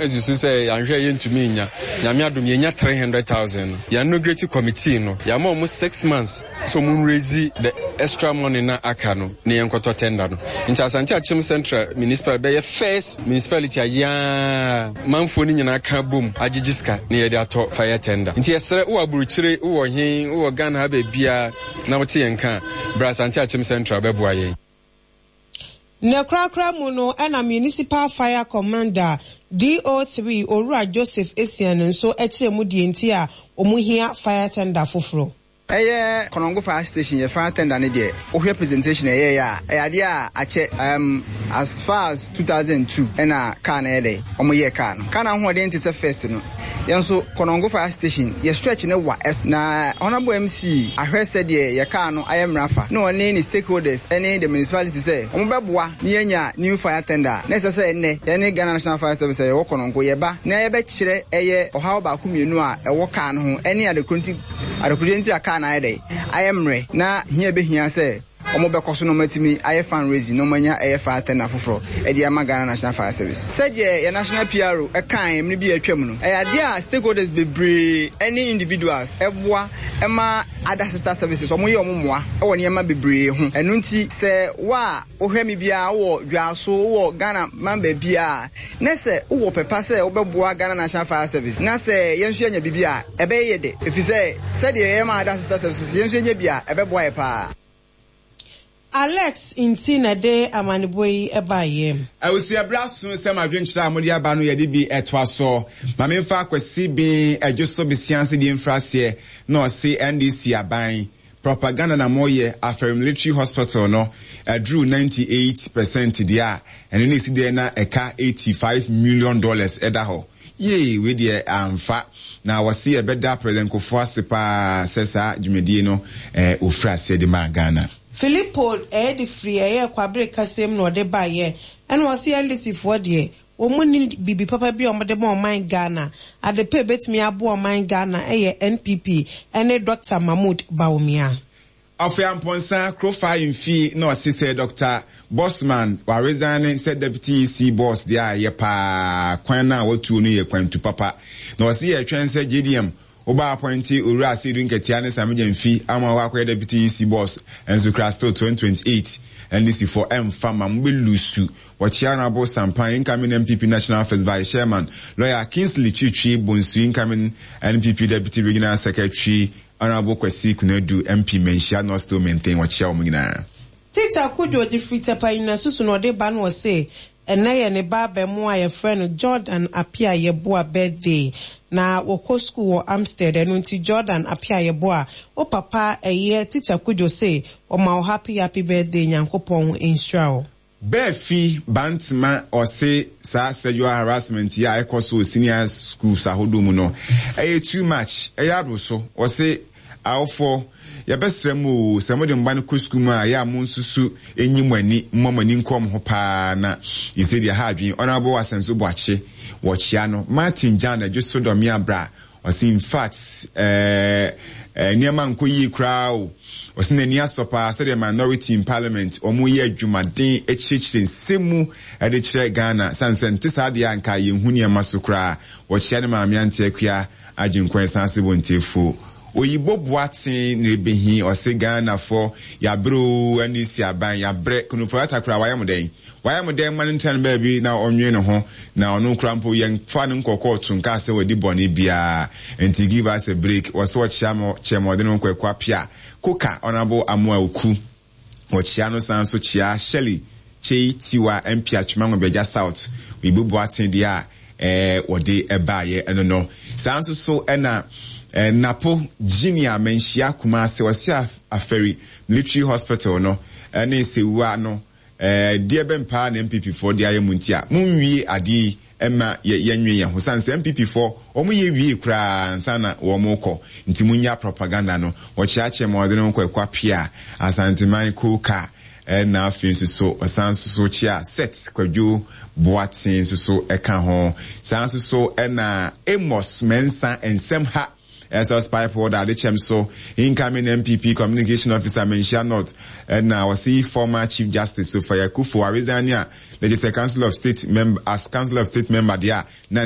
Susu sɛ yɛanhwɛ a yɛntumi nnya. Nyame adom yɛnya 300,000 no, yɛn inaugurate committee no, yɛama wɔn 6 months sɛ wɔn raise the extra money na aka no na yɛnkɔtɔ tender no. Nti Asante Akyem Central Municipal bɛyɛ first municipality a yɛn manfoɔ no nyinaa ka bom agyegye sika na yɛde atɔ fire tender. Nti yɛsrɛ, wowɔ aburokyire, wowɔ he, wowɔ Ghana ha baabiara na wote yɛn ka a, bra Asante Akyem Central bɛboa yɛn. Ne korakora mu no, ɛna Municipal Fire Commander DO3 Owura Joseph Esian nso kyerɛ mu deɛ nti a wɔn hia fire tender foforɔ. Ɛyɛ Konongo Fire Station yɛ fire tender ne deɛ, wohwɛ presentation ɛyɛyɛ a, ɛyɛ adeɛ a akyɛ, as far as 2002 ɛna car no yɛ dɛ ɔmo yɛ car no. Car no ahoɔden te sɛ first no. Yɛn nso Konongo Fire Station yɛ stretch ne wa, na Honourable MC ahwɛ sɛdeɛ yɛ car no ayɛ mmara fa na ɔne ne stakeholders ɛne the municipality sɛ ɔmo bɛboa na yɛnya new fire tender a na ɛsɛ sɛ ɛnnɛ yɛne Ghana National Fire Service a yɛwɔ Konongo yɛba na yɛbɛkyerɛ ɛyɛ ɔhaw baako mmienu a ɛwɔ car no ho ɛne adekoro nti adekodeɛ nti a car no ayɛ dɛ ayɛ mmerɛ na hia bɛhia sɛ wɔn bɛkɔ so na wɔn atumi ayɛ fundraising na wɔn anya ɛyɛ fire tender foforɔ ɛde ama Ghana National Fire Service. Sɛdeɛ yɛ national PRO ɛkan mmere bi a atwam no, ɛyɛ adeɛ a stakeholders bebree ɛne individuals ɛboa ɛma other sister services wɔn yɛ wɔn mmoa ɛwɔ nneɛma bebree ho. Ɛno nti sɛ wo a wohwɛ me biara, wowɔ Dwaso, wowɔ Ghana man baabiara, na sɛ wowɔ pɛpa sɛ wobɛboa Ghana National Fire Service na sɛ yɛn nso yɛanya biribi a, ɛbɛyɛ yɛ dɛ, ɛfiri sɛ sɛdeɛ yɛyɛ ma other sister services, yɛn nso yɛnya bi a, ɛbɛboa yɛ paa. Alex nti na ɛde amanebɔ yi baeɛ. Awusi, ɛberɛ aso sɛ madwenkyerɛ a mode aba no yɛde bi ɛtoa so. Ma memfa Akwasi Ben Adwo so besia ase deɛ mfiri aseɛ na ɔse NDC aban propaganda na moyɛ. Afari Military Hospital no aduru 98% deɛ a, ɛno ne ɛsi deɛ na ɛka $85 million ɛda hɔ. Yee, wei deɛ amfa. Na wɔse yɛbɛda President Kufuor ase paa sɛ saa dwumadie no wɔfiri aseɛ de maa Ghana. Philippo ɛyɛ de firi ɛyɛ Kwabere kasɛm na ɔde baeɛ, ɛna ɔse NDC foɔ deɛ, wɔn mu ni biribi papa bi a wɔde ma ɔman Ghana. Ade pa ebetumi aboa ɔman Ghana ɛyɛ NPP ɛne Dr Mahmood Bawumia. Afei Ampɔnsa Kurofa Mfi na ɔse sɛ Dr Bosman waresign sɛ Deputy EC boss deɛ a, ɛyɛ paa. Kwan no a watuo no yɛ kwantu papa. Na ɔse yɛtwɛn sɛ JDM woba appoint Owura Asiedu Nketia ne Sammy Gyamfi ama wakɔyɛ Deputy EC boss nso kura. Still 2028 NDC foɔ ɛmfa ma mo bɛ lose. Wɔkyea Honourable Sampan, incoming NPP National First Vice Chairman, Lawyer Kingsley Twitwi Bonsu, incoming NPP Deputy Regional Secretary, Honourable Kwasi Kunadu, MP Manhyia North, still maintain. Wɔkyea wɔn nyinaa. Tita Kudwo de firi Tɛpa Nyina na ɔde ba no, ɔse ɛnɛ yɛ ne ba abɛmo a yɛfrɛ no Jordan Apia Yeboah birthday na wɔkɔ school wɔ Amstead. Ɛno nti Jordan Apia Yeboah, wo papa ɛyɛ Tita Kudwo se ɔma wo happy happy birthday, Nyankopɔn nhyira wo. Bɛɛfi Bantema ɔse saa sexual harassment yi a ɛkɔ so wɔ senior schools ahodoɔ mu no, ɛyɛ too much, ɛyɛ aboro so. Ɔse awofoɔ, yɛbɛsrɛ mu o, sɛ mode mba no kɔ sukuu mu a, ɛyɛ a mo nsusu nyi mo ani, mmɔ mo ani nkɔ mo ho paa na yɛsɛ deɛ ha adwene. Honourable Asɛnso Boakye, wɔkyea no. Martin Jan Adwo so Dɔme Abra ɔse in fact nneɛma nkɔ yie koraa o. Ɔse n'ani asɔ paa sɛdeɛ minority in parliament wɔn yɛ adwumaden akyerɛkyerɛ nsɛm mu de kyerɛ Ghana, sane sɛ nte saa deɛ a nka yɛnhu nneɛma so koraa. Wɔkyea ne maame Ante Akua Agyenkwa ɛsan ase wɔ Ntiefo Oyibo Boateng ne rebehi. Ɔse Ghanafoɔ yɛabrɛ o, ɛne si aban yɛabrɛ. Ken Ofori-Atta koraa wayɛ mo dɛn? Wayɛ mo dɛn? Ma no ntena no baabi na ɔnwene ne ho, na ɔno koraa mpo yɛmfa no nkɔ kɔɔto nkaa sɛ wadi bɔne biara. Nti give us a break. Wɔse ɔkyea mo kyɛ ma ɔde ne ho kɔ Akua Pia Koka. Honourable Amoah Oku wɔkyea no, san so kyea Shirley Kyei Tiwa, MP Atwema Nwabiagya South. Oyibo Boateng deɛ a wɔde baayɛ ɛno no. Saa nso so ɛna Napo Junior Manhyia Kumase ɔse Afari Military Hospital no ɛne Sewua no, deɛ bɛn paa na NPP foɔ de ayɛ mu nti a monwie adeɛ yi ɛma yɛnwe yɛn ho, sane sɛ NPP foɔ wɔn yɛ wie koraa ansa na wɔn kɔ, nti munya propaganda no. Wɔkyeakyea ma ɔde ne ho kɔ Ɛkwa Pia Asanteman Koka. Ɛna afei nso so ɔsan nso so kyea Set Kwadwo Boateng nso so ɛka ho. Saa nso so ɛna Amos Mensah nsɛm ha SS pipe order adekyɛm so, incoming NPP Communication Officer Manhyia North. Ɛna wɔsi former Chief Justice Sophia Akuffo aresign a na kyerɛ sɛ Council of State member, as Council of State member deɛ a na